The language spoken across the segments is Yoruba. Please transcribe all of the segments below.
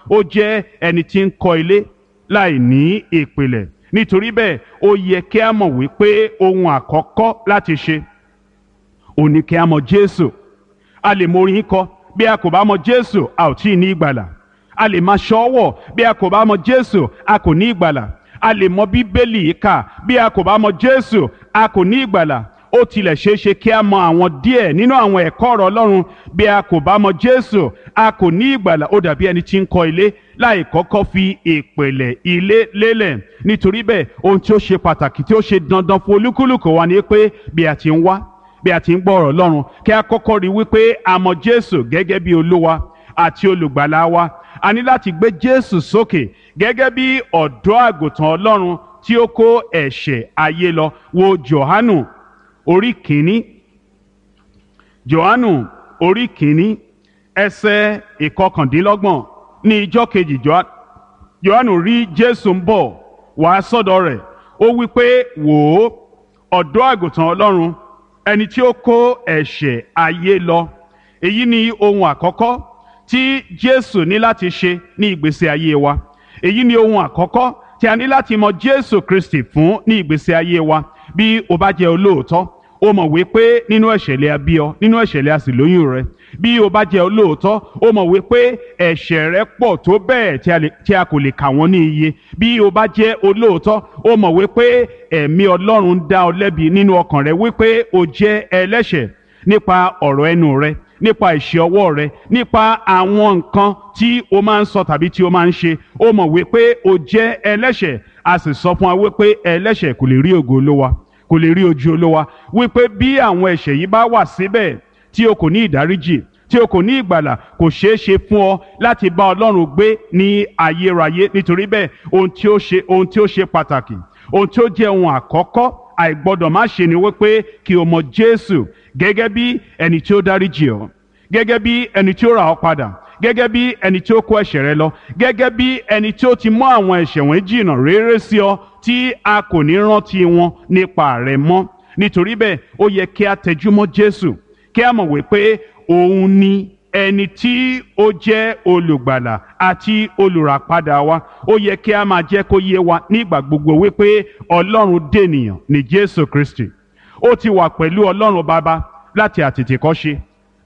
Ó jẹ́ ẹni tí ń kọ́ ilé láì ní ìpìlẹ̀. Nítorí bẹ́ẹ̀, ó yẹ kí a mọ̀ wípé ohun àkọ́kọ́ láti ṣe òun ni kí a mọ̀ Jésù. A lè mọ orin kọ, bí a kò bá mọ̀ Jésù, a ò tí ì ní ìgbàlà. A lè máa ṣọ́wọ̀, bí a kò bá mọ̀ Jésù, a kò ní ìgbàlà. A lè mọ Bíbélì kà, bí a kò bá mọ̀ Jésù, a kò ní ìgbàlà. Ó tilẹ̀ ṣeé ṣe kí a mọ àwọn díẹ̀ nínú àwọn ẹ̀kọ́ ọ̀rọ̀ Ọlọ́run, bí a kò bá mọ̀ Jésù, a kò ní ìgbàlà. Ó dàbí ẹni tí ń kọ́ ilé láì kọ́kọ́ fi ìpìlẹ̀ ilé lélẹ̀. Nítorí bẹ́ẹ̀, ohun tí ó ṣe pàtàkì tí ó ṣe dandan fún olúkúlùkù wa ni pé bí a ti ń wá, bí a ti ń gbọ́ ọ̀rọ̀ Ọlọ́run, kí a kọ́kọ́ rí wípé a mọ̀ Jésù gẹ́gẹ́ bí Olúwa àti olùgbàlà wa. A ní láti gbé Jésù sókè gẹ́gẹ́ bí ọ̀dọ́ àgùntàn Ọlọ́run tí ó kó ẹ̀ṣẹ̀ ayé lọ. Wo Jòhánù orí kìíní. Jòhánù orí kìíní, ẹsẹ̀ 29. Ní ijọ́ kejì, Jòhánù rí Jésù ń bọ̀ wá sọ́dọ̀ rẹ̀. Ó wí pé, wò ó, ọ̀dọ́ àgùntàn Ọlọ́run, ẹni tí ó kó ẹ̀ṣẹ̀ ayé lọ. Èyí ni ohun àkọ́kọ́ tí Jésù ní láti ṣe ní ìgbésí ayé wa. Èyí ni ohun àkọ́kọ́ tí a ní láti mọ Jésù Kristi fún ní ìgbésí ayé wa. Bí o bá jẹ́ olóòótọ́, o mọ̀ wípé nínú ẹ̀ṣẹ̀ lè a bí ọ, nínú ẹ̀ṣẹ̀ lè a sì lóyún rẹ. Bí o bá jẹ́ olóòótọ́, o mọ̀ wípé ẹ̀ṣẹ̀ rẹ pọ̀ tó bẹ́ẹ̀ tí a kò lè kà wọ́n ní iye. Bí o bá jẹ́ olóòótọ́, o mọ̀ wípé ẹ̀mí Ọlọ́run ń dá ọ lẹ́bi nínú ọkàn rẹ wípé o jẹ́ ẹlẹ́ṣẹ̀ nípa ọ̀rọ̀ ẹnu rẹ, nípa ìṣe ọwọ́ rẹ, nípa àwọn nǹkan tí o máa ń sọ tàbí tí o máa ń ṣe. O mọ̀ wípé o jẹ́ ẹlẹ́ṣẹ̀. A sì sọ fún wa wípé ẹlẹ́ṣẹ̀ kò lè rí ògo Olúwa, kò lè rí ojú Olúwa, wípé bí àwọn ẹ̀ṣẹ̀ yìí bá wà síbẹ̀ tí o kò ní ìdáríjì, tí o kò ní ìgbàlà, kò ṣeé ṣe fún ọ láti bá Ọlọ́run gbé ní ayérayé. Nítorí bẹ́ẹ̀, ohun tí ó ṣe pàtàkì, ohun tí ó jẹ́ ohun àkọ́kọ́ àìgbọ́dọ̀ má ṣe ni wípé kí o mọ Jésù gẹ́gẹ́ bí ẹni tí ó dáríjì ọ́, gẹ́gẹ́ bí ẹni tí ó rà ọ́ padà, gẹ́gẹ́ bí ẹni tí ó kó ẹ̀ṣẹ̀ rẹ lọ, gẹ́gẹ́ bí ẹni tí ó ti mú àwọn ẹ̀ṣẹ̀ wọ̀nyí jìnnà réré sí ọ tí a kò ní rántí wọn nípa rẹ mọ́. Nítorí bẹ́ẹ̀, ó yẹ kí a tẹjúmọ́ Jésù, kí a mọ̀ wípé òun ni ẹni tí ó jẹ́ olùgbàlà àti olùràpadà wa. Ó yẹ kí a máa jẹ́ kó yé wa nígbà gbogbo wípé Ọlọ́run dènìyàn ní Jésù Kristi. Ó ti wà pẹ̀lú Ọlọ́run Baba láti àtètèkọ́ṣe,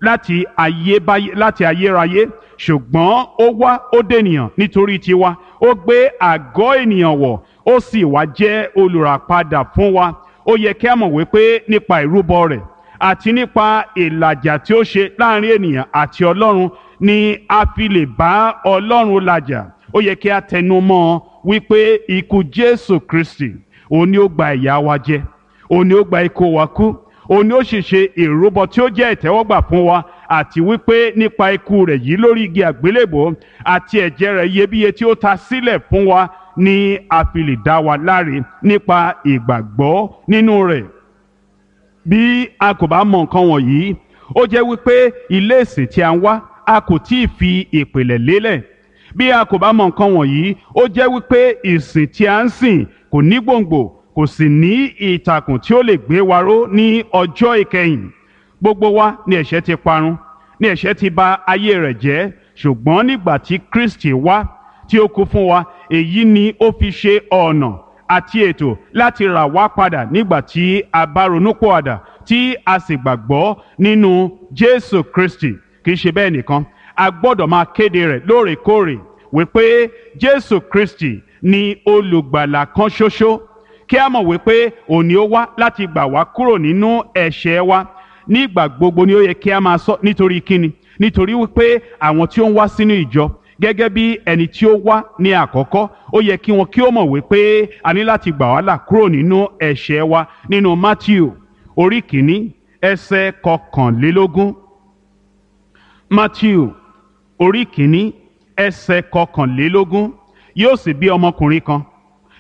láti ayébáyé, láti ayérayé, ṣùgbọ́n ó wá, ó dènìyàn nítorí tiwa. Ó gbé àgọ́ ènìyàn wọ̀, ó sì wá jẹ́ olùràpadà fún wa. Ó yẹ kí a mọ̀ wípé nípa ìrúbọ rẹ̀ àti nípa ìlàjà tí ó ṣe láàrin ènìyàn àti Ọlọ́run ni a fi lè bá Ọlọ́run làjà. Ó yẹ kí a tẹnu mọ́ ọ wípé ikú Jésù Kristi, òun ni ó gba ìyà wa jẹ, òun ni ó gba ikú wa kú, òun ni ó sì ṣe ìrúbọ tí ó jẹ́ ìtẹ́wọ́gbà fún wa, àti wípé nípa ikú rẹ̀ yìí lórí igi àgbélébòó àti ẹ̀jẹ̀ rẹ̀ iyebíye tí ó ta sílẹ̀ fún wa ni a fi lè dá wa láre nípa ìgbàgbọ́ nínú rẹ̀. Bí a kò bá mọ nǹkan wọ̀nyí, ó jẹ́ wípé ilé ìsìn tí a ń wá, a kò tí ì fi ìpìlẹ̀ lélẹ̀. Bí a kò bá mọ nǹkan wọ̀nyí, ó jẹ́ wípé ìsìn tí a ń sìn kò ní gbòǹgbò, kò sì ní ìtàkùn tí ó lè gbé wa ró ní ọjọ́ ìkẹyìn. Gbogbo wa ni ẹ̀ṣẹ̀ ti parun, ni ẹ̀ṣẹ̀ ti bà ayé rẹ̀ jẹ́, ṣùgbọ́n nígbà tí Kristi wá tí ó kú fún wa, èyí ni ó fi ṣe ọ̀nà àti ètò láti rà wá padà nígbà tí a bá ronúpìwàdà tí a sì gbàgbọ́ nínú Jésù Kristi. Kì í ṣe bẹ́ẹ̀ nìkan, a gbọ́dọ̀ máa kéde rẹ̀ lóòrèkóòrè wípé Jésù Kristi ni olùgbàlà kan ṣoṣo, kí a mọ̀ wípé òun ni ó wá láti gbà wá kúrò nínú ẹ̀ṣẹ̀ wa. Nígbà gbogbo ni ó yẹ kí a máa sọ. Nítorí kíni? Nítorí wípé àwọn tí ó ń wá sínú ìjọ gẹ́gẹ́ bí ẹni tí ó wá ní àkọ́kọ́, ó yẹ kí wọn kí ó mọ̀ wípé a ní láti gbà wá là kúrò nínú ẹ̀ṣẹ̀ wa. Nínú Matthew orí 1 ẹsẹ̀ 21. Matthew orí 1 ẹsẹ̀ 21. Yóò sì bí ọmọkùnrin kan,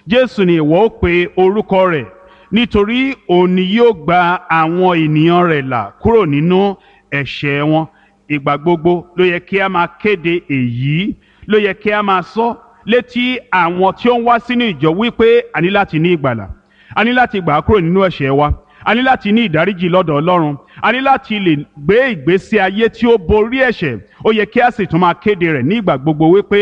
Jésù ni ìwọ ó pe orúkọ rẹ̀, nítorí òun ni yóò gba àwọn ènìyàn rẹ̀ là kúrò nínú ẹ̀ṣẹ̀ wọn. Ìgbà gbogbo ló yẹ kí a máa kéde èyí, ló yẹ kí a máa sọ létí àwọn tí ó ń wá sínú ìjọ wípé a ní láti ní ìgbàlà, a ní láti gbà á kúrò nínú ẹ̀ṣẹ̀ wa, a ní láti ní ìdáríjì lọ́dọ̀ Ọlọ́run, a ní láti lè gbé ìgbésí ayé tí ó borí ẹ̀ṣẹ̀. Ó yẹ kí a sì tún máa kéde rẹ̀ ní ìgbà gbogbo wípé